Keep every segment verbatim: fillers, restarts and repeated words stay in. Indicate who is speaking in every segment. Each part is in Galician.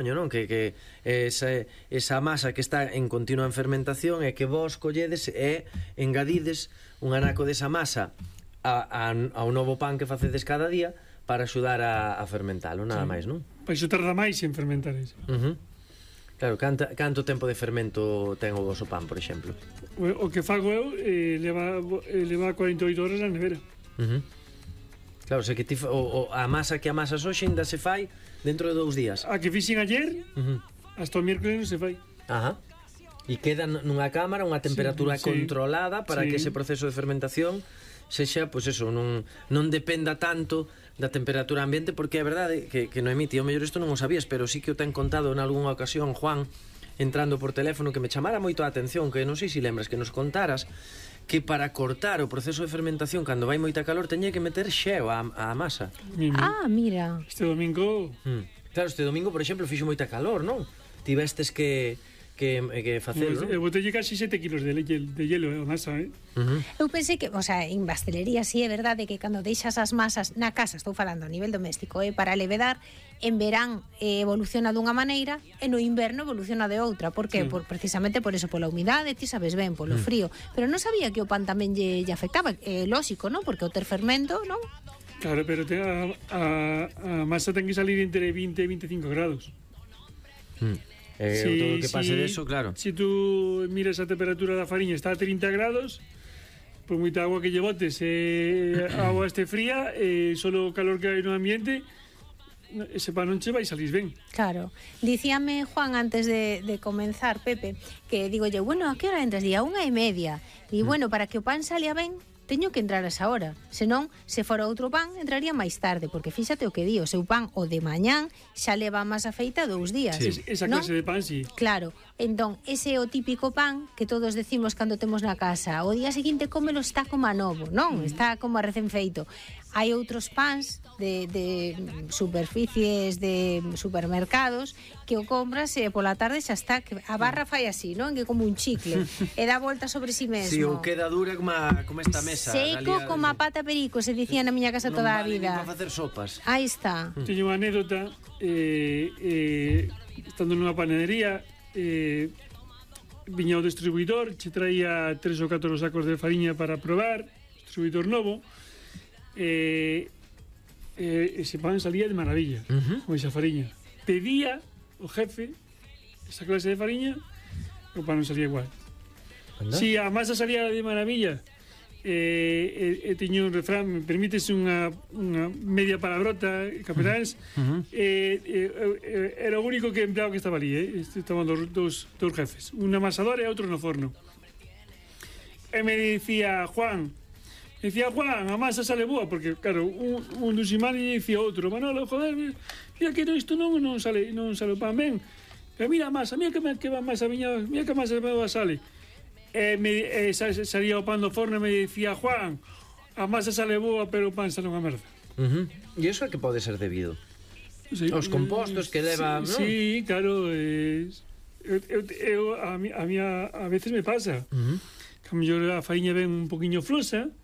Speaker 1: non? Que, que esa, esa masa que está en continua fermentación é que vos colledes e engadides un anaco desa masa a, a, ao novo pan que facedes cada día para axudar a, a fermentalo, nada sí. máis, non?
Speaker 2: Pois iso tarda máis en fermentar iso.
Speaker 1: Uh -huh. Claro, canta, canto tempo de fermento ten o vosso pan, por exemplo?
Speaker 2: O, o que fago eu eh, leva, eh, leva cuarenta e oito horas na nevera.
Speaker 1: Uh -huh. Claro, se que ti, o, o, a masa que amasas hoxe ainda se fai dentro de dous días.
Speaker 2: A que fixen ayer, uh -huh. hasta o miércoles non se fai.
Speaker 1: Ajá. E queda nunha cámara unha temperatura sí, controlada para sí. que ese proceso de fermentación sexa, pois eso, non, non dependa tanto da temperatura ambiente, porque é verdade que, que Noemí, tío, mellor isto non o sabías, pero sí que o ten contado en algunha ocasión Juan, entrando por teléfono, que me chamara moito a atención, que non sei se lembras que nos contaras que para cortar o proceso de fermentación cando vai moita calor teña que meter xeo á, á masa.
Speaker 3: Ah, mira.
Speaker 2: Este domingo...
Speaker 1: Mm. Claro, este domingo, por exemplo, fixo moita calor, non? Tivestes que... que, que facelo, non?
Speaker 2: Eu botelle casi sete kilos de, de hielo, eh, masa, eh?
Speaker 3: Uh -huh. Eu pensei que, o sea, en pastelería sí é verdade que cando deixas as masas na casa, estou falando a nivel doméstico, eh, para levedar, en verán eh, evoluciona dunha maneira e no inverno evoluciona de outra. Por que? Sí. Por, precisamente por eso, pola humidade, ti sabes ben, polo mm. frío. Pero non sabía que o pan tamén lle, lle afectaba, eh, lógico, non? Porque o ter fermento, non?
Speaker 2: Claro, pero te, a, a, a masa ten que salir entre vinte e veinticinco grados.
Speaker 1: Mm. Eh, sí, todo o que pase si, de eso, claro.
Speaker 2: Si tú miras a temperatura da fariña está a trinta grados, por moita agua que lle botes, eh, a agua este fría, eh, solo o calor que hai no ambiente, ese pan non che vai salir ben.
Speaker 3: Claro. Dicíame Juan antes de, de comenzar, Pepe, que digo yo, bueno, a que hora entras? Día unha e media. E mm. bueno, para que o pan salía ben, teño que entrar a esa hora. Senón, se fora outro pan, entraría máis tarde, porque fíxate o que di, o seu pan o de mañán xa leva máis afeita dous días.
Speaker 2: Sí, esa
Speaker 3: non?
Speaker 2: clase de pan, sí.
Speaker 3: Claro. Entón, ese é o típico pan que todos decimos cando temos na casa. O día seguinte cómelo está como a novo, non? Mm. Está como a recén feito. Hai outros pans de, de superficies de supermercados que o compras e pola tarde xa está, que a barra fai así, non? Que como un chicle e dá volta sobre si mesmo.
Speaker 1: Si, ou queda dura como, a, como esta mesa.
Speaker 3: Seco Galia, como a pata perico, se dicía na miña casa toda a
Speaker 1: vale
Speaker 3: vida.
Speaker 1: Non vale facer sopas.
Speaker 3: Aí está.
Speaker 2: Mm. Teño unha anécdota, eh, eh, estando nunha panadería, eh, viña o distribuidor, che traía tres ou catro sacos de fariña para probar, distribuidor novo, eh, eh, ese pan salía de maravilla, uh -huh. con esa fariña. Pedía o jefe esa clase de fariña, o pan non salía igual. ¿Anda? Si a masa salía de maravilla, eh, eh, tiño un refrán, me permites unha, unha media palabrota, capetáns, uh -huh. eh, eh, eh, era o único que empleado que estaba ali, eh? Estaban dos, dos, dos jefes, un amasador e outro no forno. E me dicía Juan, dicía Juan, a masa sale boa, porque claro, un, un dos imanes dicía outro, Manolo, joder, mira que isto non, non sale, non sale o pan ben, pero mira a masa, mira que, que a masa viña, mira que a masa boa sale. E me, eh, salía o pan do forno e me dicía Juan, a masa sale boa pero o pan sale unha merda.
Speaker 1: Uh -huh. E iso é que pode ser debido? Sí, os compostos que leva,
Speaker 2: sí,
Speaker 1: ¿no?
Speaker 2: Sí, claro, eh, eu, eu, eu, a, mi, a, mi, a veces me pasa uh -huh. que a mellor a fariña ven un poquinho flosa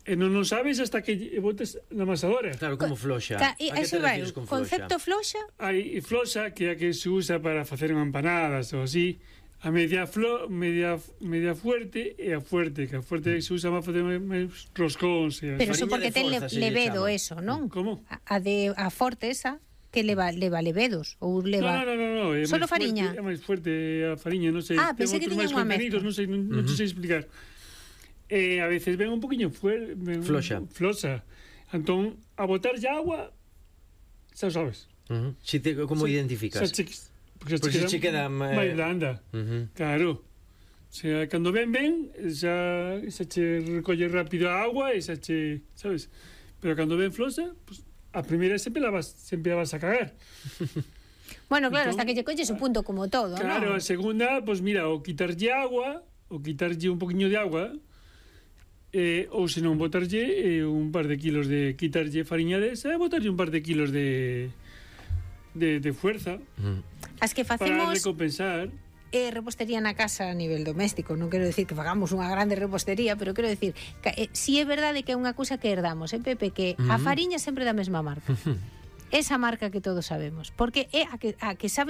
Speaker 2: e non non sabes hasta que botes na amasadora.
Speaker 1: Claro, como floxa.
Speaker 3: Ta, e, a que te refires con floxa? Concepto floxa?
Speaker 2: Hai floxa que é a que se usa para facer empanadas ou así. A media flo, media media fuerte e a fuerte, que a fuerte se usa para facer máis roscóns.
Speaker 3: Pero eso porque ten le, levedo eso, non?
Speaker 2: Como?
Speaker 3: A, a de a forte esa que leva leva levedos ou leva
Speaker 2: No, no, no, no, é
Speaker 3: solo fariña.
Speaker 2: É máis fuerte a fariña, non sei.
Speaker 3: Ah, pensei que tiña unha mezcla.
Speaker 2: Non sei, non, uh -huh. non sei explicar. Eh, a veces ven un poquinho fuerte,
Speaker 1: floxa.
Speaker 2: Flosa. Entón, a botar ya agua, xa sabes.
Speaker 1: Uh -huh. Si te, como
Speaker 2: xa,
Speaker 1: identificas?
Speaker 2: Xa,
Speaker 1: porque se che queda
Speaker 2: máis blanda. Uh -huh. Claro. O sea, cando ven ben, xa, xa che recolle rápido a agua e xa che, sabes? Pero cando ven flosa, pues, a primeira sempre la vas, sempre la vas a cagar.
Speaker 3: Bueno, claro, entón, hasta que lle colles un punto como todo,
Speaker 2: claro,
Speaker 3: ¿no?
Speaker 2: A segunda, pues mira, o quitarlle agua, o quitarlle un poquinho de agua, eh, ou senón botarlle eh, un par de kilos de quitarlle fariña desa e botarlle un par de kilos de de, de fuerza.
Speaker 1: Mm.
Speaker 3: As que facemos
Speaker 2: para recompensar
Speaker 3: eh, repostería na casa a nivel doméstico, non quero decir que fagamos unha grande repostería, pero quero decir que eh, si é verdade que é unha cousa que herdamos, eh, Pepe, que mm. a fariña sempre da mesma marca. Esa marca que todos sabemos, porque é a que, a que sabes